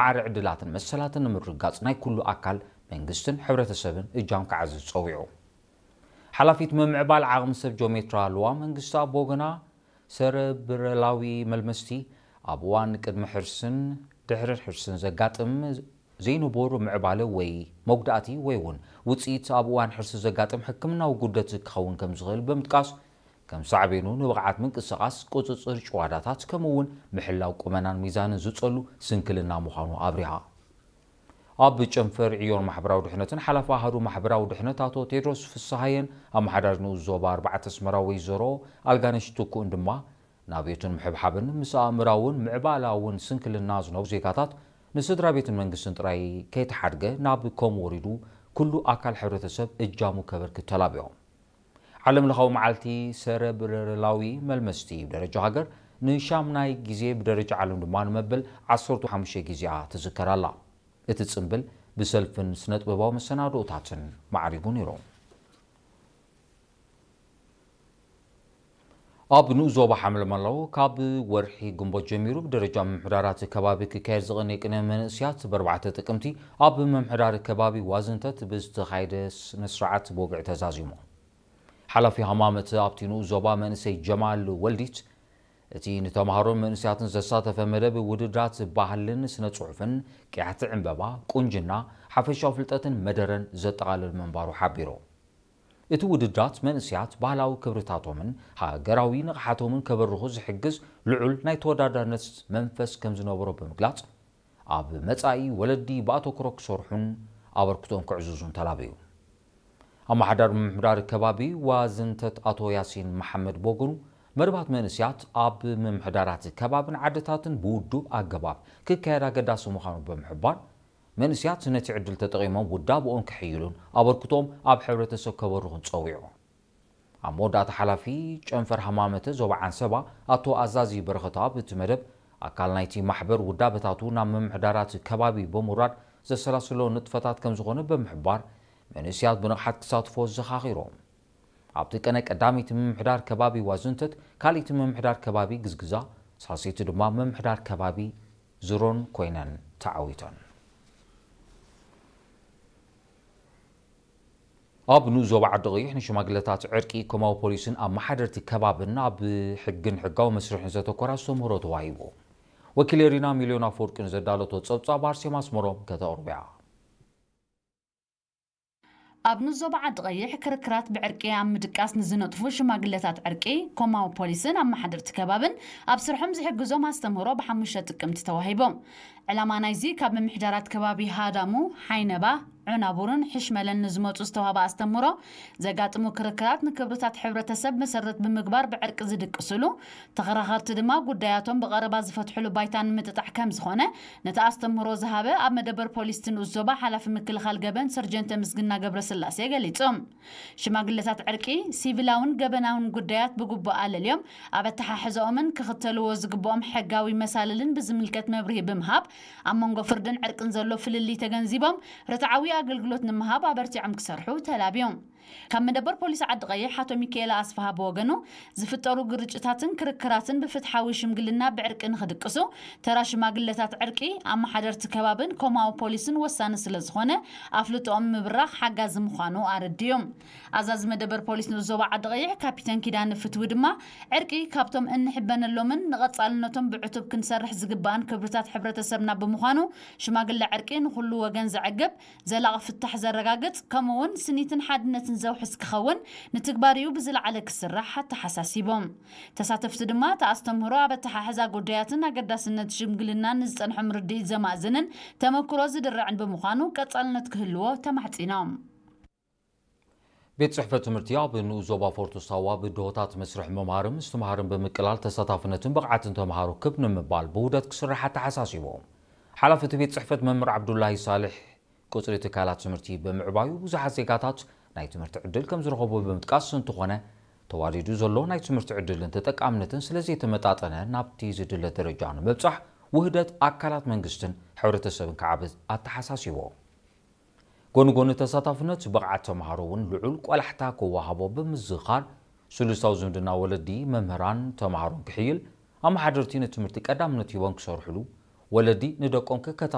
ማዕረ ዕድላትን መሰላትን ንምርግጋጽ ናይ ኩሉ ኣካል መንግስትን ሕብረተሰብን እጃም ክዓዝዝ ጸዊዑ። ሓላፊት ምምዕባል ዓቕሚ ሰብ ጆሜትራ ሉዋ መንግስቲ ኣብ ወገና፣ ሰረብረላዊ መልመስቲ ኣብ እዋን ቅድሚ ሕርስን ድሕሪ ሕርስን ዘጋጥም ዘይንቡር ምዕባለ ወይ መጉዳእቲ ወይ እውን ውጽኢት ኣብ እዋን ሕርሲ ዘጋጥም ሕክምናዊ ጉደት ክኸውን ከም ዝኽእል ብምጥቃስ፣ ከም ሳዕቤኑ ንብቕዓት ምንቅስቓስ፣ ቁጽጽር ጭዋዳታት፣ ከምኡ እውን ምሕላው ቁመናን ሚዛንን ዝጸሉ ስንክልና ምዃኑ ኣብሪሃ። ኣብ ጨንፈር ዕዮን ማሕበራዊ ድሕነትን ሓላፊ ኣሃዱ ማሕበራዊ ድሕነት ኣቶ ቴድሮስ ፍስሃየን ኣመሓዳሪ ንኡስ ዞባ ኣርባዕተ ኣስመራ ወይዘሮ ኣልጋነሽ ትኩእን ድማ፣ ናብዮትን ምሕብሓብን ምስ ኣእምራውን ምዕባላውን ስንክልና ዝነብሩ ዜጋታት ንስድራ ቤትን መንግስትን ጥራይ ከይተሓድገ ናብ ከም ወሪዱ ኩሉ ኣካል ሕብረተሰብ እጃሙ ከበርክት ተላብዮም። ዓለም ለኻዊ መዓልቲ ሰረብረላዊ መልመስቲ ብደረጃ ሃገር ንሻምናይ ግዜ፣ ብደረጃ ዓለም ድማ ንመበል ዓሰርተ ሓሙሽተ ግዜኣ ትዝከር ኣላ። እቲ ጽምብል ብሰልፍን ስነጥበባዊ መሰናድኦታትን ማዕሪጉ ነይሩ። ኣብ ንኡስ ዞባ ሓመልማሎ ካብ ወርሒ ግንቦት ጀሚሩ ብደረጃ ምምሕዳራት ከባቢ ክካየድ ዝቐነየ ቅነ መንእስያት ብኣርባዕተ ጥቅምቲ ኣብ ምምሕዳር ከባቢ ዋዝንተት ብዝተኻየደ ስነስርዓት ብወግዒ ተዛዚሙ። ሓላፊ ሃማመት ኣብቲ ንኡስ ዞባ መንእሰይ ጀማል ወልዲት፣ እቲ ንተምሃሮን መንእስያትን ዘሳተፈ መደብ ውድድራት ባህልን ስነ ጽሑፍን፣ ቅያሕቲ ዕምበባ፣ ቁንጅና፣ ሓፈሻዊ ፍልጠትን መደረን ዘጠቓልል ምንባሩ ሓቢሩ። እቲ ውድድራት መንእስያት ባህላዊ ክብርታቶምን ሃገራዊ ንቕሓቶምን ከበርኹ ዝሕግዝ ልዑል ናይ ተወዳዳርነት መንፈስ ከም ዝነበሮ ብምግላጽ፣ ኣብ መጻኢ ወለዲ ብኣተኩሮ ክሰርሑን ኣበርክቶኦም ከዕዝዙን ተላበዩ። ኣመሓዳሪ ምምሕዳር ከባቢ ዋዝንተት ኣቶ ያሲን መሓመድ ብወገኑ፣ መደባት መንእስያት ኣብ ምምሕዳራት ከባብን ዓድታትን ብውዱብ ኣገባብ ክካየድ ኣገዳሲ ምዃኑ ብምሕባር፣ መንእስያት ነቲ ዕድል ተጠቒሞም ውዳብኦም ክሕይሉን ኣበርክቶኦም ኣብ ሕብረተሰብ ከበርኹን ጸዊዑ። ኣብ መወዳእታ ሓላፊ ጨንፈር ሃማመተ ዞባ ዓንሰባ ኣቶ ኣዛዚ በረኸት ኣብ እቲ መደብ፣ ኣካል ናይቲ ማሕበር ውዳበታቱ ናብ ምምሕዳራት ከባቢ ብምውራድ ዘሰላስሎ ንጥፈታት ከም ዝኾነ ብምሕባር፣ መንእስያት ብንቕሓት ክሳትፎ ዘኻኺሮም። ኣብቲ ቀነ ቀዳመይቲ ምምሕዳር ከባቢ ዋዝንተት፣ ካልኣይቲ ምምሕዳር ከባቢ ግዝግዛ፣ ሳልሰይቲ ድማ ምምሕዳር ከባቢ ዝሮን ኮይነን ተዓዊተን። ኣብ ንኡስ ዞባ ዓዲ ቀይሕ ንሽማግለታት ዕርቂ ኮማዊ ፖሊስን ኣመሓደርቲ ከባብን ኣብ ሕግን ሕጋዊ መስርሕን ዘተኮረ ኣስተምህሮ ተዋሂቡ። ወኪል ኤሪና ሚልዮን ኣፈወርቂ ንዘዳለቶ ጸብጻብ ኣርሴማ ኣስመሮም ከተቕርቦ እያ። ኣብ ንኡስ ዞባ ዓዲ ቀይሕ ክርክራት ብዕርቂ ኣብ ምድቃስ ንዝነጥፉ ሽማግለታት ዕርቂ ኮማዊ ፖሊስን ኣመሓደርቲ ከባብን ኣብ ስርሖም ዝሕግዞም ኣስተምህሮ ብሓሙሽተ ጥቅምቲ ተዋሂቦም። ዕላማ ናይዚ ካብ ምምሕዳራት ከባቢ ሃዳሙ፣ ሓይነባ፣ ዑናቡርን ሕሽመለን ንዝመጹ ዝተዋህበ ኣስተምህሮ፣ ዘጋጥሙ ክርክራት ንክብርታት ሕብረተሰብ መሰረት ብምግባር ብዕርቂ ዝድቅስሉ፣ ተኸራኸርቲ ድማ ጉዳያቶም ብቐረባ ዝፈትሕሉ ባይታ ንምጥጣሕ ከም ዝኾነ ነቲ ኣስተምህሮ ዝሃበ ኣብ መደበር ፖሊስ እቲ ንኡስ ዞባ ሓላፊ ምክልኻል ገበን ሰርጀንት ተምስግና ገብረስላሴ ገሊጹ። ሽማግለታት ዕርቂ፣ ሲቪላውን ገበናውን ጉዳያት ብግቡእ ኣለልዮም ኣብ ኣተሓሕዛኦምን ክኽተልዎ ዝግብኦም ሕጋዊ መሳልልን ብዝምልከት መብርሂ ብምሃብ፣ ኣብ መንጎ ፍርድን ዕርቅን ዘሎ ፍልልይ ተገንዚቦም፣ ርትዓዊ ኣገልግሎት ንምሃብ ኣበርቲዖም ክሰርሑ ተላብዮም። ካብ መደበር ፖሊስ ዓዲ ቀይሕ ኣቶ ሚካኤል ኣስፍሃ ብወገኑ፣ ዝፍጠሩ ግርጭታትን ክርክራትን ብፍትሓዊ ሽምግልና ብዕርቂ ንኽድቅሱ፣ ተራ ሽማግለታት ዕርቂ፣ ኣመሓደርቲ ከባብን ኮማዊ ፖሊስን ወሳኒ ስለዝኾነ፣ ኣፍልጦኦም ምብራኽ ሓጋዚ ምዃኑ ኣረዲኡ። ኣዛዚ መደበር ፖሊስ ንኡስ ዞባ ዓዲ ቀይሕ ካፒተን ኪዳነ ፍትዊ ድማ፣ ዕርቂ ካብቶም እንሕበነሎምን ንቐጻልነቶም ብዕቱብ ክንሰርሕ ዝግባእን ክብርታት ሕብረተሰብና ብምዃኑ፣ ሽማግለ ዕርቂ ንኹሉ ወገን ዘዕግብ፣ ዘላቒ ፍታሕ ዘረጋግጽ፣ ከምኡ እውን ስኒትን ሓድነትን ዘውሕስ ክኸውን ንትግባሪኡ ብዝለዓለ ክስራሕ ኣተሓሳሲቦም። ተሳተፍቲ ድማ፣ እቲ ኣስተምህሮ ኣብ ኣተሓሕዛ ጉዳያትን ኣገዳስነት ሽምግልናን ንዝጸንሖም ርድኢት ዘማእዝንን ተመክሮ ዝድርዕን ብምዃኑ ቀጻልነት ክህልዎ ተማሕጺኖም። ቤት ጽሕፈት ትምህርቲ ኣብ ንኡስ ዞባ ፎርቶ ሳዋ ብድሆታት መስርሕ ምምሃርን ምስትምሃርን ብምቅላል ተሳታፍነትን ብቕዓትን ተምሃሮ ክብ ንምባል ብውህደት ክስራሕ ኣተሓሳሲቡ። ሓላፊ እቲ ቤት ጽሕፈት መምህር ዓብዱላሂ ሳልሕ፣ ቁጽሪ ትካላት ትምህርቲ ብምዕባዩ ብዙሓት ዜጋታት ናይ ትምህርቲ ዕድል ከም ዝረኸቡ ብምጥቃስ፣ እንተኾነ ተዋዲዱ ዘሎ ናይ ትምህርቲ ዕድልን ተጠቃምነትን ስለዘይተመጣጠነ ናብቲ ዝድለ ደረጃ ንምብጻሕ ውህደት ኣካላት መንግስትን ሕብረተሰብን ክዓብት ኣተሓሳሲቡ። ጎኒ ጎኒ ተሳታፍነት፣ ብቕዓት ተምሃሮ እውን ልዑል ቆላሕታ ክወሃቦ ብምዝኻር፣ ስሉሳዊ ዝምድና ወለዲ፣ መምህራን፣ ተምሃሮን ክሕይል፣ ኣመሓደርቲ ንትምህርቲ ቀዳምነት ሂቦም ክሰርሕሉ፣ ወለዲ ንደቆም ክከታተሉ